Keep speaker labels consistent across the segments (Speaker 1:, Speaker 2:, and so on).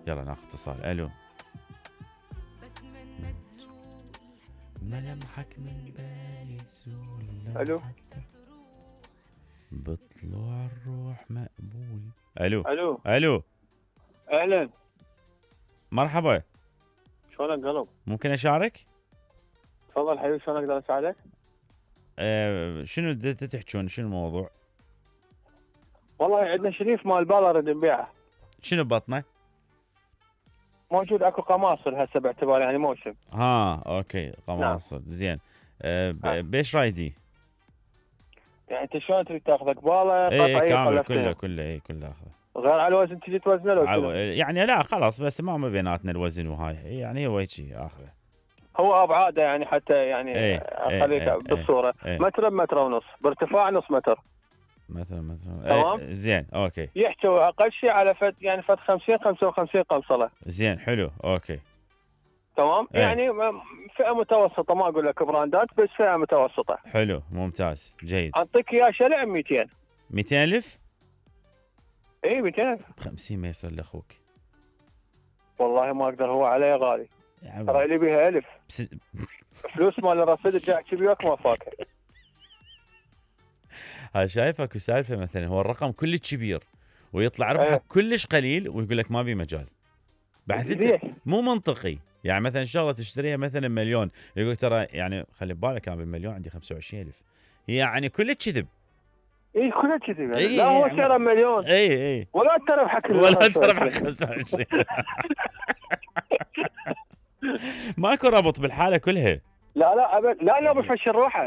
Speaker 1: يلا ناخذ اتصال. الو. ملامحك من بالي تزول.
Speaker 2: الو.
Speaker 1: بطلوع الروح مقبول. الو.
Speaker 2: الو.
Speaker 1: الو.
Speaker 2: اهلا.
Speaker 1: مرحبا.
Speaker 2: شلونك قلب؟
Speaker 1: ممكن اشارك؟
Speaker 2: تفضل حبيبي، شلون اقدر اساعدك؟
Speaker 1: شنو تحكون؟ شنو الموضوع؟
Speaker 2: والله عندنا شريف مال بالا نريد نبيعه.
Speaker 1: شنو ببطنه؟
Speaker 2: موجود اكو قماصل هسه باعتبار يعني موسم.
Speaker 1: اوكي قماصل. نعم. زين. بيش رايدي؟
Speaker 2: يعني انت شلون تريد تاخذ قباله
Speaker 1: قطعي كامل كله اخذه.
Speaker 2: غير على الوزن تجي توزنه لو
Speaker 1: يعني لا خلاص، بس ما بيناتنا الوزن وهاي، يعني هو هيجي اخذه.
Speaker 2: هو ابعاده يعني حتى يعني اخليك بالصوره متر بمتر ونص، بارتفاع نص متر
Speaker 1: مثلا.
Speaker 2: تمام.
Speaker 1: زين اوكي.
Speaker 2: يحتوي اقل شيء على يعني 55 قمصله.
Speaker 1: زين حلو اوكي
Speaker 2: تمام. يعني فئه متوسطه، ما اقول لك براندات، بس فئه متوسطه.
Speaker 1: حلو ممتاز جيد.
Speaker 2: اعطيك اياه شلع 200.
Speaker 1: 200,000؟
Speaker 2: اي 200,000.
Speaker 1: 50 ما يصير لاخوك.
Speaker 2: والله ما اقدر، هو علي غالي ترى لي بيها 1000 فلوس مال الرصيد جاي احكي وياك ما فاكر.
Speaker 1: ها شايفك سالفه مثلا هو الرقم كلش كبير ويطلع ربحك كلش قليل ويقول لك ما بي مجال. بعد مو منطقي. يعني مثلا شغله تشتريها مثلا مليون، يقول ترى يعني خلي ببالك انا بالمليون عندي 25,000، يعني كله كذب.
Speaker 2: اي كله كذب. لا هو سعره مليون.
Speaker 1: اي
Speaker 2: ولا تربحك
Speaker 1: 25. ماكو ربط بالحاله كلها.
Speaker 2: لا ابد، لا بفشل روحه.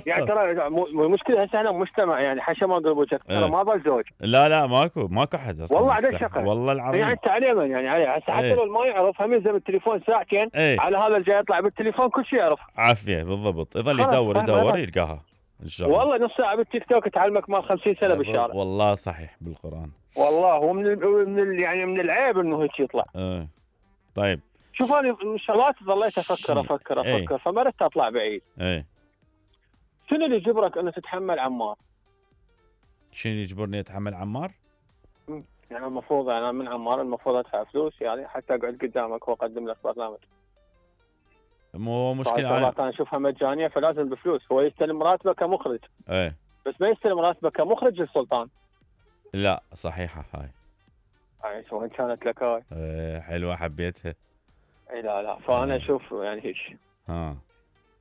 Speaker 2: يعني ترى المشكله هسه احنا مجتمع يعني حشا ما اقول وجهك ترى ما ضل زوج.
Speaker 1: لا ماكو حد اصلا.
Speaker 2: والله عدد شقه
Speaker 1: والله العظيم.
Speaker 2: يعني تعليما يعني عليه هسه حتى لو ما يعرف هم يلزم التليفون ساعتين على هذا الجاي يطلع بالتليفون كل شيء يعرف.
Speaker 1: عافيه بالضبط. يظل يدور يلقاها ان شاء الله.
Speaker 2: والله نص ساعه بالتيك توك تعلمك مال 50 سنه بالشارع.
Speaker 1: والله صحيح بالقران.
Speaker 2: والله هو يعني من العيب انه هيك يطلع.
Speaker 1: طيب
Speaker 2: شوف انا شغلات ظليت افكر فمرت اطلع بعيد. شنو اللي يجبرك انه تتحمل عمار؟
Speaker 1: شنو اللي يجبرني اتحمل عمار؟
Speaker 2: يعني المفروض انا من عمار المفروض ادفع فلوس يعني حتى اقعد قدامك واقدم لك برنامج.
Speaker 1: مو مشكله
Speaker 2: انا اشوفها مجانيه فلازم بفلوس. هو يستلم راتبه كمخرج. بس ما يستلم راتبه كمخرج للسلطان.
Speaker 1: لا صحيحه هاي
Speaker 2: وين كانت لك هاي؟
Speaker 1: حلوه حبيتها.
Speaker 2: لا فانا اشوف يعني هيك.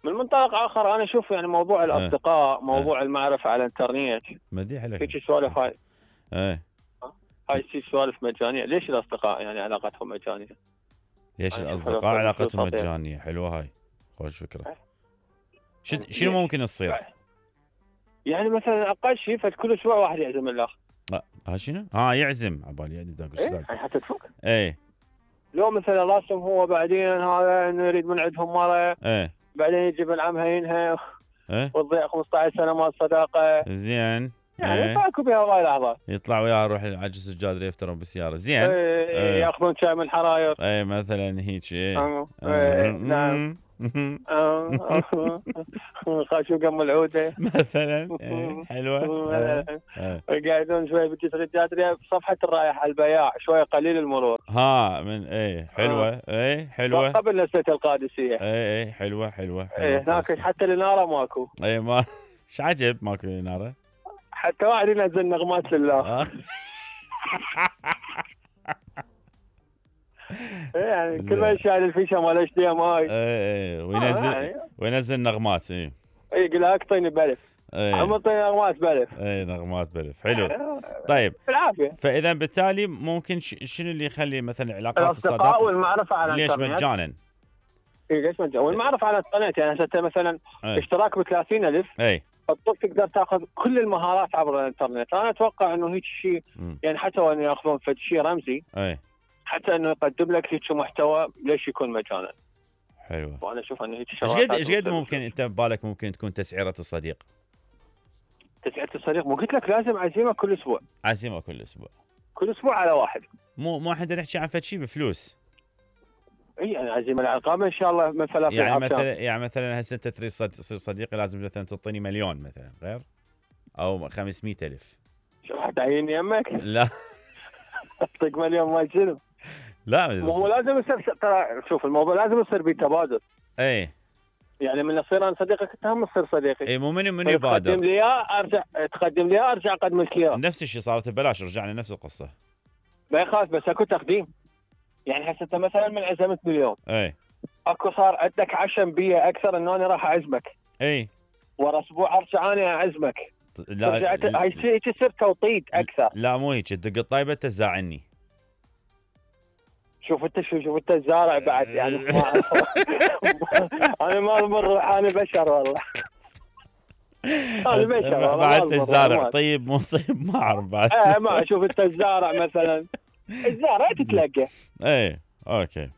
Speaker 2: من منطلق اخر انا اشوف يعني موضوع الاصدقاء، موضوع المعرفه على الانترنت
Speaker 1: مديح لك
Speaker 2: هيك سوالف هاي. هاي سوالف مجانيه. ليش الاصدقاء يعني علاقتهم مجانيه؟
Speaker 1: ليش الاصدقاء علاقتهم مجانيه؟ حلوه هاي، خوش فكره. شنو ممكن تصير؟
Speaker 2: يعني مثلا اقل شيء فكل اسبوع واحد يعزم الاخر.
Speaker 1: ها شنو؟ يعزم عبالي يعني داك
Speaker 2: يعني حتى تفك.
Speaker 1: لو
Speaker 2: مثلا راسم هو بعدين هذا نريد من عندهم مره. بعدين يجي ابن عمها ينهى وتضيع 15 سنه مال صداقه.
Speaker 1: زين.
Speaker 2: يعني ماكو بها هواي لحظات.
Speaker 1: يطلع وياه يروح على السجاد يفترون بالسياره. زين.
Speaker 2: ياخذون شاي من الحراير.
Speaker 1: مثلا هيك.
Speaker 2: نعم. خاشوا قم العوده
Speaker 1: مثلا. حلوه.
Speaker 2: قاعدون شوي بالجسر بصفحه الرايح على البياع شوي قليل المرور.
Speaker 1: من حلوه. حلوه
Speaker 2: قبل نسيت القادسيه.
Speaker 1: حلوه
Speaker 2: هناك حتى الاناره ماكو.
Speaker 1: ما ايش عجب ماكو اناره.
Speaker 2: حتى واحد ينزل نغمات لله. يعني كل ما يشعل الفيشه مال اتش دي ام اي.
Speaker 1: وينزل نغمات.
Speaker 2: يقول لك اعطيني بلف. اعطيني نغمات بلف.
Speaker 1: نغمات بلف. حلو. طيب
Speaker 2: بالعافيه.
Speaker 1: فاذا بالتالي ممكن شنو اللي يخلي مثلا علاقات
Speaker 2: الاصدقاء والمعرفه على
Speaker 1: الانترنت ليش مجانا؟
Speaker 2: ليش مجانا؟ والمعرفة على الانترنت يعني هسه مثلا اشتراك ب 30,000 تقدر تاخذ كل المهارات عبر الانترنت. انا اتوقع انه هيك شيء يعني حتى وان ياخذون فد شيء رمزي حتى انه يقدم لك هيك محتوى ليش يكون مجانا.
Speaker 1: حلو.
Speaker 2: وانا اشوف انه هيك شغلات.
Speaker 1: ايش قد ممكن انت ببالك ممكن تكون تسعيره الصديق؟
Speaker 2: تسعيره الصديق مو قلت لك لازم عزيمه كل اسبوع. كل اسبوع على واحد.
Speaker 1: مو احنا نحكي عن فد شيء بفلوس.
Speaker 2: يعني عزيمه العقابه ان شاء الله من فلافل.
Speaker 1: يعني مثلا هسه انت تريد تصير صديقي لازم مثلا تعطيني مليون مثلا غير او 500,000.
Speaker 2: شو حتعيني يمك؟
Speaker 1: لا
Speaker 2: اعطيك مليون مال شنو؟
Speaker 1: لا
Speaker 2: هو لازم يصير ترى، شوف الموضوع لازم يصير بتبادل.
Speaker 1: اي
Speaker 2: يعني من اصير انا صديقك انت هم تصير صديقي.
Speaker 1: اي مو من يبادر.
Speaker 2: تقدم لي اياه ارجع اقدم لك اياه.
Speaker 1: نفس الشيء صارت ببلاش، رجعنا نفس القصه.
Speaker 2: ما يخاف بس اكو تقديم. يعني هسه انت مثلا من عزمت مليون،
Speaker 1: اي
Speaker 2: اكو صار عندك عشم بيه اكثر انه انا راح اعزمك.
Speaker 1: اي
Speaker 2: ورا اسبوع ارجع انا اعزمك.
Speaker 1: لا
Speaker 2: هاي يصير توطيد اكثر.
Speaker 1: لا مو هيك، تدق الطيبه تزاعني.
Speaker 2: شوف انت الزارع بعد يعني انا ما بروح، انا بشر والله. انا بشر والله.
Speaker 1: بعد الزارع طيب مو طيب ما اعرف بعد.
Speaker 2: ما شوف انت الزارع مثلا، الزارع تتلقى.
Speaker 1: ايه اوكي.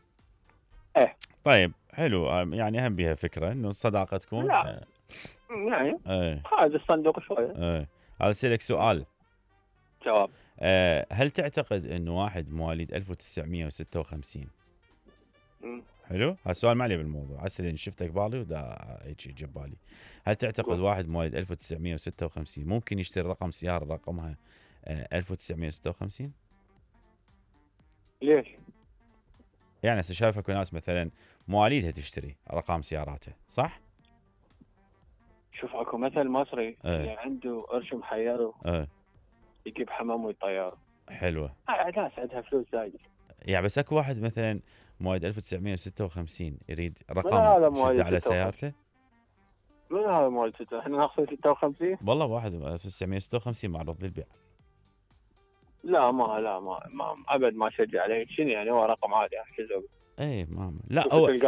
Speaker 2: ايه
Speaker 1: طيب حلو، يعني اهم بها فكره انه الصداقه تكون.
Speaker 2: لا يعني
Speaker 1: ايه
Speaker 2: هذا الصندوق شويه.
Speaker 1: ايه هذا اسالك سؤال.
Speaker 2: جواب.
Speaker 1: هل تعتقد انه واحد مواليد 1956 حلو؟ هذا السؤال ما عليه بالموضوع، هسه لاني شفتك بالي ودا هيك جاب بالي. هل تعتقد واحد مواليد 1956 ممكن يشتري رقم سياره رقمها 1956؟
Speaker 2: ليش؟
Speaker 1: يعني هسه شايف اكو ناس مثلا مواليدها تشتري ارقام سياراتها، صح؟
Speaker 2: شوف اكو مثل مصري اللي عنده قرش محيره يجيب حمام ويطيره.
Speaker 1: حلوه.
Speaker 2: ناس عندها فلوس زايده.
Speaker 1: يعني بس اكو واحد مثلا مواليد 1956 يريد رقم يشد على سيارته.
Speaker 2: من هذا مواليد 56؟ احنا ناخذ 56.
Speaker 1: والله واحد 1956 معرض للبيع.
Speaker 2: لا ما ابد ما اشجع عليه. شنو يعني هو رقم عادي احجزه.
Speaker 1: اي ماما لا هو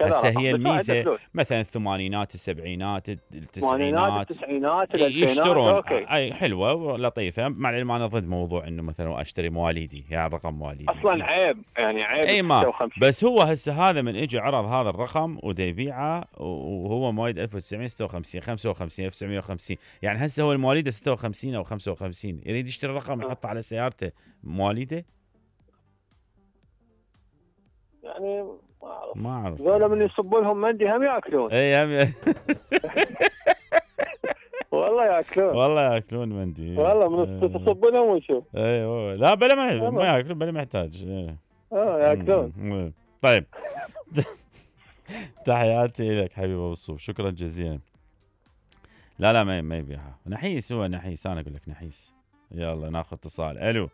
Speaker 1: هسه هي الميزه مثلا الثمانينات السبعينات التسعينات
Speaker 2: التسعينات
Speaker 1: يشترون. اي حلوه ولطيفه، مع العلم انا ضد موضوع انه مثلا اشتري مواليدي يعني رقم مواليدي
Speaker 2: اصلا عيب، يعني عيب.
Speaker 1: اي ما بس هو هسه هذا من اجى عرض هذا الرقم ودا يبيعه وهو مواليد 1956 55 1950، يعني هسه هو المواليد 56 او 55 يريد يشتري رقم يحطه على سيارته مواليده.
Speaker 2: يعني
Speaker 1: ما اعرف
Speaker 2: ذولا من يصبوا لهم مندي هم ياكلون.
Speaker 1: اي هم
Speaker 2: والله ياكلون،
Speaker 1: والله ياكلون مندي.
Speaker 2: والله من تصب لهم وشوف.
Speaker 1: اي لا بلا ما ياكلون بلا محتاج.
Speaker 2: ياكلون.
Speaker 1: طيب تحياتي لك حبيبي ابو الصوف، شكرا جزيلا. لا ما يبيعها نحيس، هو نحيس، انا اقول لك نحيس. يلا ناخذ اتصال. الو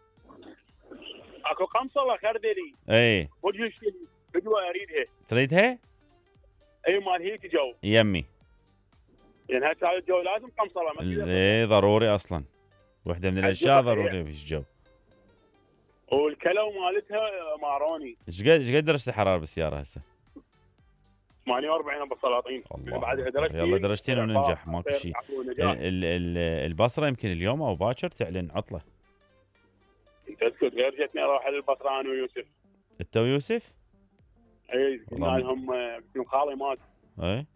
Speaker 3: اكو قمصله خردلي.
Speaker 1: اي
Speaker 3: وجهي بدوه اريدها.
Speaker 1: تريدها؟
Speaker 3: اي مال هيك جو
Speaker 1: يمي.
Speaker 3: يعني هسه هذا الجو لازم قمصله.
Speaker 1: اي ضروري اصلا، وحده من الاشياء ضروريه في الجو.
Speaker 3: والكلو مالتها ماروني.
Speaker 1: ايش قد درجه الحراره بالسياره هسه؟
Speaker 3: 48 بالسلاطين.
Speaker 1: بعدها درجتين. يلا درجتين وننجح ماكو شيء. البصره يمكن اليوم او باكر تعلن عطله.
Speaker 3: انت اسكت، غير جتني اروح البصره انا ويوسف.
Speaker 1: انت ويوسف؟
Speaker 3: اي قلنا لهم خالي مات.
Speaker 1: اي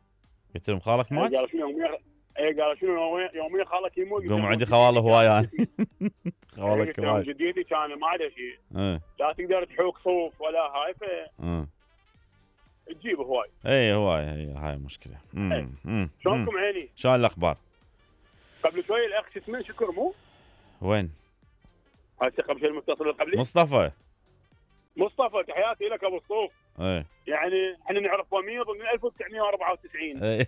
Speaker 1: قلت لهم خالك مات؟
Speaker 3: قالوا شنو قالوا شنو يوميا خالك يموت.
Speaker 1: قوم عندي خوالي هواي انا. خوالك هواي.
Speaker 3: جديتي كان ما عنده شيء. لا تقدر تحوك صوف ولا هاي تجيب هواي.
Speaker 1: اي هواي هاي مشكله.
Speaker 3: شلونكم عيني؟
Speaker 1: شلون الاخبار؟
Speaker 3: قبل شوي الاخ شو اسمه شكر مو؟
Speaker 1: وين؟
Speaker 3: هسه قبل شوي المتصل قبلي
Speaker 1: مصطفى.
Speaker 3: تحياتي لك ابو الصوف.
Speaker 1: اي
Speaker 3: يعني احنا نعرف وميض من 1994.
Speaker 1: اي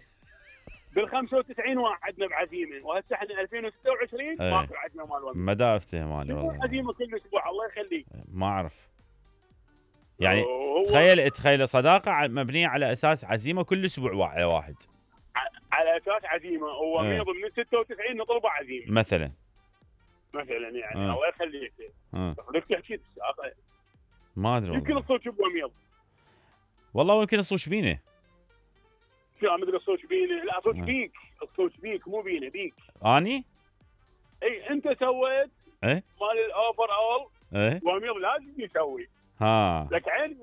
Speaker 3: بال 95 وعدنا بعزيمه، وهسه احنا 2026 ماكو عدنا مال وميض.
Speaker 1: ما دافته مالي والله.
Speaker 3: عزيمه كل اسبوع الله يخليك.
Speaker 1: ما اعرف. يعني تخيل صداقه مبنيه على اساس عزيمه كل اسبوع على واحد.
Speaker 3: على اساس عزيمه وميض من 96 نطلبه عزيمه.
Speaker 1: مثلا
Speaker 3: يعني الله يخليك. بدك تحكي
Speaker 1: ما ادري
Speaker 3: يمكن الصوت بوميض.
Speaker 1: والله يمكن الصوت بينه.
Speaker 3: شو عم تقول الصوت بينه؟ لا صوت بيك، الصوت بيك مو بينه، بيك.
Speaker 1: اني؟
Speaker 3: اي انت سويت مال الاوفر اول. وميض لازم يسوي. لك عين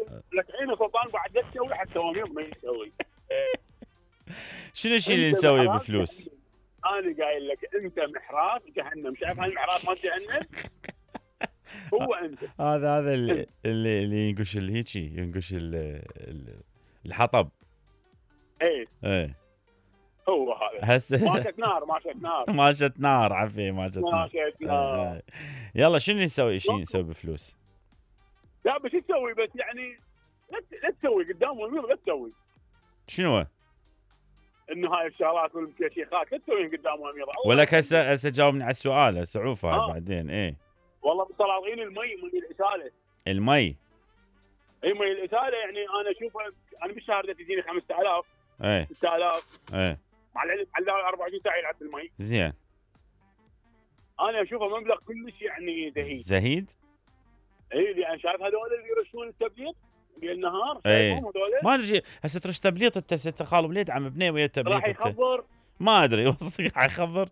Speaker 3: سلطان بعد لا تسوي حتى وميض ما يسوي.
Speaker 1: شنو الشيء اللي نسويه بفلوس؟
Speaker 3: انا قايل لك انت محراث جهنم، شايف هاي المحراث مال جهنم؟ هو انت
Speaker 1: هذا اللي ينقش هيجي ينقش الحطب.
Speaker 3: ايه هو هذا.
Speaker 1: هسه ماشت نار عفي ماشت نار. يلا شنو نسوي بفلوس؟
Speaker 3: لا بس تسوي بس يعني لا تسوي قدام امير، لا تسوي.
Speaker 1: شنو هو؟
Speaker 3: انه هاي الشغلات والمكشخات لا تسويهم قدام امير.
Speaker 1: ولك هسه جاوبني على السؤال، هسه عوف هاي بعدين. ايه
Speaker 3: والله بصلاطين المي من الاساله.
Speaker 1: المي
Speaker 3: اي مي الاساله يعني انا اشوفها، انا بالشهر تجيني 5000
Speaker 1: ايه
Speaker 3: 6000
Speaker 1: ايه
Speaker 3: مع العلم على 24 ساعه يلعب بالمي.
Speaker 1: زين.
Speaker 3: انا اشوفه مبلغ كلش يعني
Speaker 1: زهيد.
Speaker 3: اي لان شايف هذول اللي يرشون التبليط بالنهار
Speaker 1: ايه ما ادري هسه ترش تبليط انت ست خالو بليد عم بنيه ويا التبليط
Speaker 3: راح يخبر.
Speaker 1: ما ادري وصدق راح يخبر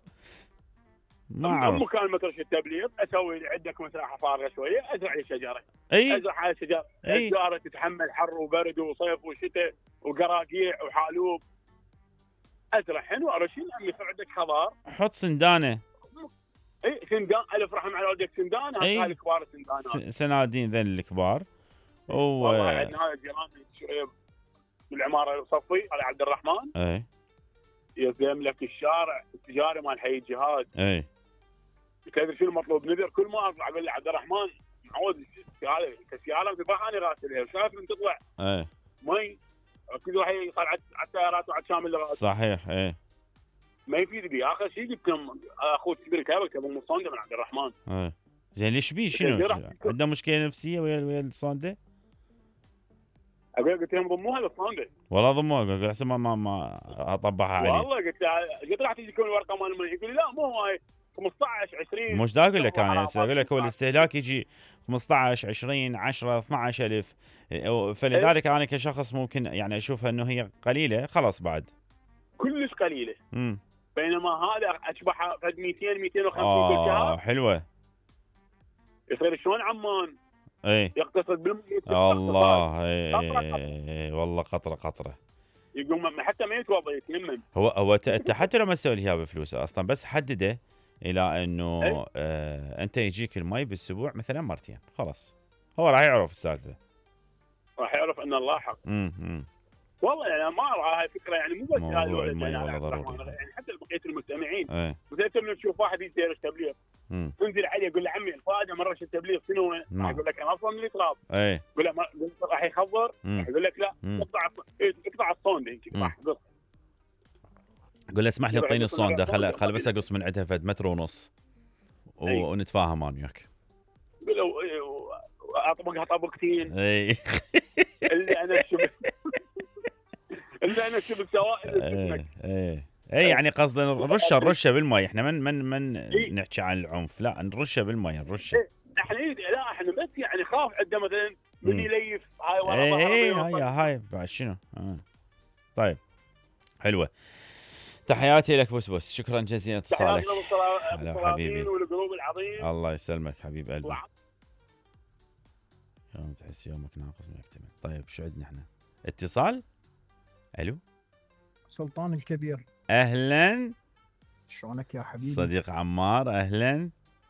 Speaker 1: ما اعرف.
Speaker 3: مكان ما ترش التبليط اسوي عندك مساحه فارغه شويه ازرع لي شجره.
Speaker 1: اي
Speaker 3: ازرع على شجره. الشجره تتحمل حر وبرد وصيف وشتاء وقراقيع وحالوب. ازرع حلو ارشين عم يصير عندك خضار.
Speaker 1: حط سندانه.
Speaker 3: اي سندان الف رحم على والدك سندان. هاي الكبار السندانات
Speaker 1: سنادين ذن الكبار.
Speaker 3: والله عندنا هاي الجيران بالعماره الصفي على عبد الرحمن.
Speaker 1: اي
Speaker 3: يزم لك الشارع التجاري مال حي الجهاد.
Speaker 1: اي
Speaker 3: تدري شنو المطلوب نذر؟ كل ما اطلع اقول لعبد الرحمن معود السياره تبقى انا راسلها وشايف من تطلع
Speaker 1: اي
Speaker 3: مي كل واحد يصير على السيارات وعلى شامل الراس.
Speaker 1: صحيح. اي
Speaker 3: ما يفيد بي. اخر شيء جبت اخوه الكبير كابك ابو مصونده من عبد الرحمن.
Speaker 1: زين ليش بيه؟ شنو عنده مشكله نفسيه ويا الصونده؟
Speaker 3: اقول قلت لهم ضموها للصونده.
Speaker 1: والله ضموها. قلت احسن ما اطبعها عليه.
Speaker 3: والله قلت راح تجيكم الورقه مال المي. يقول لي لا مو هاي 15 20.
Speaker 1: مش دا اقول لك انا هسه اقول لك هو الاستهلاك يجي 15 20 10 12000. فلذلك انا كشخص ممكن يعني اشوفها انه هي قليله خلاص بعد
Speaker 3: كلش قليله. بينما هذا اشبح فد 200 250 كل شهر.
Speaker 1: حلوه.
Speaker 3: يصير شلون عمان
Speaker 1: اي
Speaker 3: يقتصد بالمي.
Speaker 1: الله اي والله قطره
Speaker 3: يقوم حتى ما يتوضا يتيمم.
Speaker 1: هو انت حتى لو ما تسوي لي اياها بفلوس اصلا بس حدده الى انه انت يجيك المي بالاسبوع مثلا مرتين خلاص هو راح يعرف السالفه.
Speaker 3: راح يعرف ان الله حق. والله يعني ما ارى هاي فكره يعني مو بس
Speaker 1: هذا المي والله ضروري
Speaker 3: يعني حتى بقيه المستمعين.
Speaker 1: مثلا
Speaker 3: انت تشوف واحد يدير تبليغ تنزل عليه يقول له عمي الفائده من رش التبليغ شنو؟ راح يقول لك انا اصلا من التراب. يقول له راح يخبر. راح يقول لك لا اقطع الصونده هيك راح قص.
Speaker 1: قول له اسمح لي اعطيني الصونده خل بس اقص من عندها فد متر ونص ونتفاهم انا وياك.
Speaker 3: قول له اطبقها طبقتين. اللي انا شفت سوائل.
Speaker 1: اي يعني قصدنا نرشه بالمي. احنا من نحكي عن العنف لا نرشه بالمي نرشه.
Speaker 3: احنا بس يعني خاف عنده مثلا من يليف هاي ورا
Speaker 1: هاي بعد شنو. طيب حلوه. تحياتي لك بوس شكرا جزيلا اتصالك.
Speaker 3: هلا حبيبي والقلوب العظيم.
Speaker 1: الله يسلمك حبيب قلبي. يوم تحس يومك ناقص ما يكتمل. طيب شو عندنا احنا؟ اتصال. الو
Speaker 4: سلطان الكبير.
Speaker 1: اهلا
Speaker 4: شلونك يا حبيبي؟
Speaker 1: صديق عمار اهلا.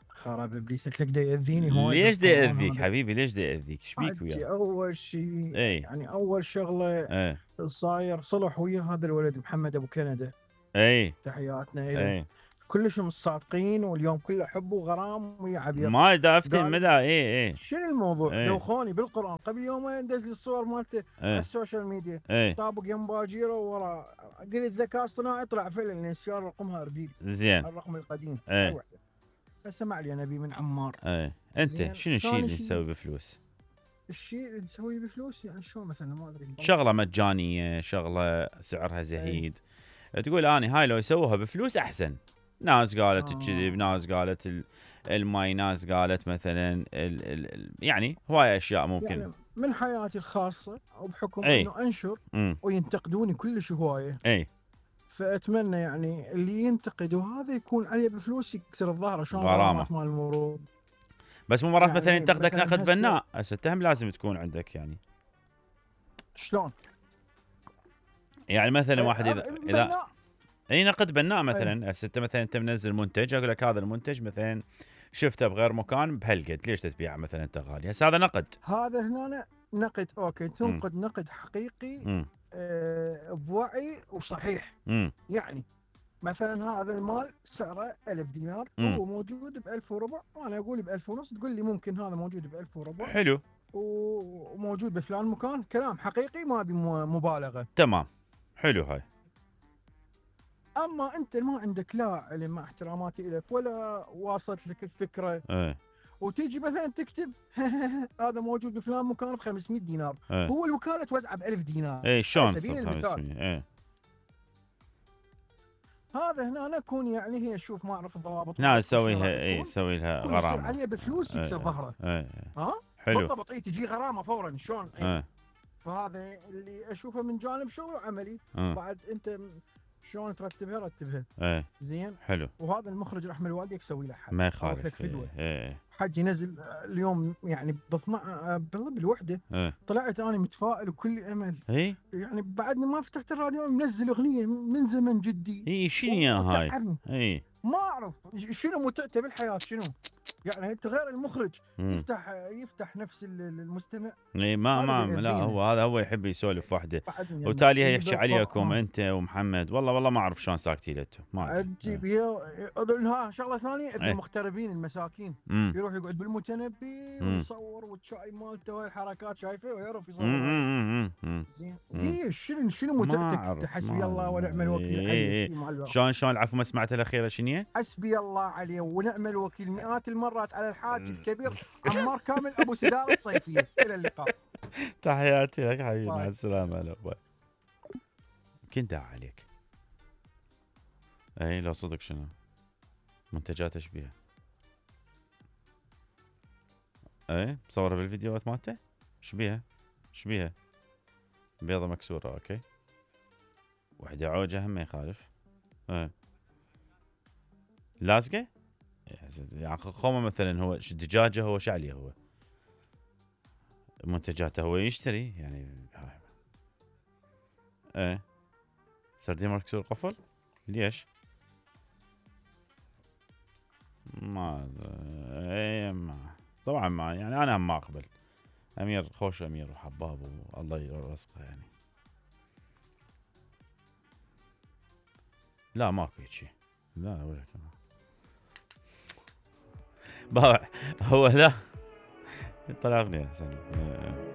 Speaker 4: خراب ابليسك لك دا ياذيني هون.
Speaker 1: ليش دا ياذيك حبيبي؟ ليش دا ياذيك؟ ايش بيك وياه؟
Speaker 4: اول شيء يعني اول شغله صاير صلح ويا هذا الولد محمد ابو كندا. تحياتنا له. كلش مصادقين واليوم كله حب وغرام ويا عبير.
Speaker 1: ما دافتن مدى.
Speaker 4: شنو الموضوع؟ لو خوني بالقران قبل يومين دز لي الصور مالته على السوشيال ميديا. طابق يم باجيره ورا قلت الذكاء الصناعي طلع فعلا السياره رقمها ارديلي.
Speaker 1: زين
Speaker 4: الرقم القديم. بس ما علي نبي من عمار.
Speaker 1: انت شنو الشيء اللي نسوي بفلوس؟
Speaker 4: الشيء اللي نسويه بفلوس يعني شو مثلا ما ادري.
Speaker 1: شغله مجانيه شغله سعرها زهيد. تقول اني هاي لو يسووها بفلوس احسن. ناس قالت الكذب ناس قالت الماي ناس قالت مثلا يعني هواي اشياء ممكن
Speaker 4: يعني من حياتي الخاصه او بحكم انه انشر وينتقدوني كلش هوايه. فاتمنى يعني اللي ينتقدوا هذا يكون عليه بفلوس يكسر الظهر شلون غرامات مال المرور.
Speaker 1: بس مو مرات يعني مثلا ينتقدك نقد بناء هسه التهم لازم تكون عندك يعني
Speaker 4: شلون
Speaker 1: يعني مثلا واحد اذا اي نقد بناء مثلا هسه انت مثلا انت منزل منتج اقول لك هذا المنتج مثلا شفته بغير مكان بهالقد ليش تبيعه مثلا انت غالي. هسه هذا نقد.
Speaker 4: هذا هنا نقد اوكي تنقد نقد حقيقي بوعي وصحيح. يعني مثلا هذا المال سعره 1000 دينار هو موجود ب 1000 وربع وانا اقول ب 1000 ونص تقول لي ممكن هذا موجود ب 1000 وربع.
Speaker 1: حلو
Speaker 4: وموجود بفلان مكان، كلام حقيقي ما ابي مبالغه.
Speaker 1: تمام، حلو هاي.
Speaker 4: اما انت ما عندك لا علم، مع احتراماتي لك، ولا واصلت لك الفكره، وتيجي مثلا تكتب هذا موجود بفلان مكان ب 500 دينار، هو الوكاله توزعه ب 1000 دينار.
Speaker 1: شلون سبيل المثال؟
Speaker 4: هذا هنا اكون يعني هي، شوف ما اعرف الضوابط.
Speaker 1: لا اسويها يسوي لها غرامه
Speaker 4: عليها بفلوس يكسر ظهره. ها
Speaker 1: حلو
Speaker 4: بالضبط. تجي غرامه فورا. شلون؟ فهذا اللي اشوفه من جانب شغل وعملي. بعد انت شلون ترتبها؟ رتبها زين.
Speaker 1: حلو.
Speaker 4: وهذا المخرج رحمه الوالدي يسوي له حل،
Speaker 1: ما يخالف.
Speaker 4: حج ينزل اليوم يعني بالوحده. طلعت انا متفائل وكل امل. يعني بعدني ما فتحت الراديو، منزل اغنيه من زمن جدي.
Speaker 1: شنو هاي؟
Speaker 4: ما اعرف شنو متعته بالحياه شنو. يعني انت غير المخرج يفتح نفس المستمع.
Speaker 1: ما لا هو يحب يسولف وحده، يعني وتالي يحكي عليكم انت ومحمد. والله ما اعرف شلون ساكتين انتم. ما
Speaker 4: تجيب شغله ثانيه. المغتربين المساكين يروح يقعد بالمتنبي ويصور، والشاي مالته والحركات شايفه، ويعرف يصور. زين. شنو متعتك؟ حسبي الله ونعم الوكيل.
Speaker 1: شلون العفو ما سمعت الاخيره شنو؟
Speaker 4: حسبي الله عليه ونعم الوكيل مئات المرات على الحاج الكبير عمار كامل ابو سدار الصيفيه. الى اللقاء.
Speaker 1: تحياتي لك حبيبي، مع السلامه. هلا باي. كنت داعي عليك. لو صدق شنو منتجات ايش بيها؟ مصوره بالفيديوهات مالته. ايش بيها؟ بيضه مكسوره. اوكي. وحده عوجه هم ما يخالف. لازقه يعني خومه مثلا. هو دجاجه، هو شعليه، هو منتجاته هو يشتري يعني. سردين مكسور قفل. ليش؟ ما طبعا ما يعني انا ما اقبل. امير خوش، امير وحباب والله يرزقه يعني. لا ماكو شيء. لا ولا كمان هو لا طلع اغنيه احسن.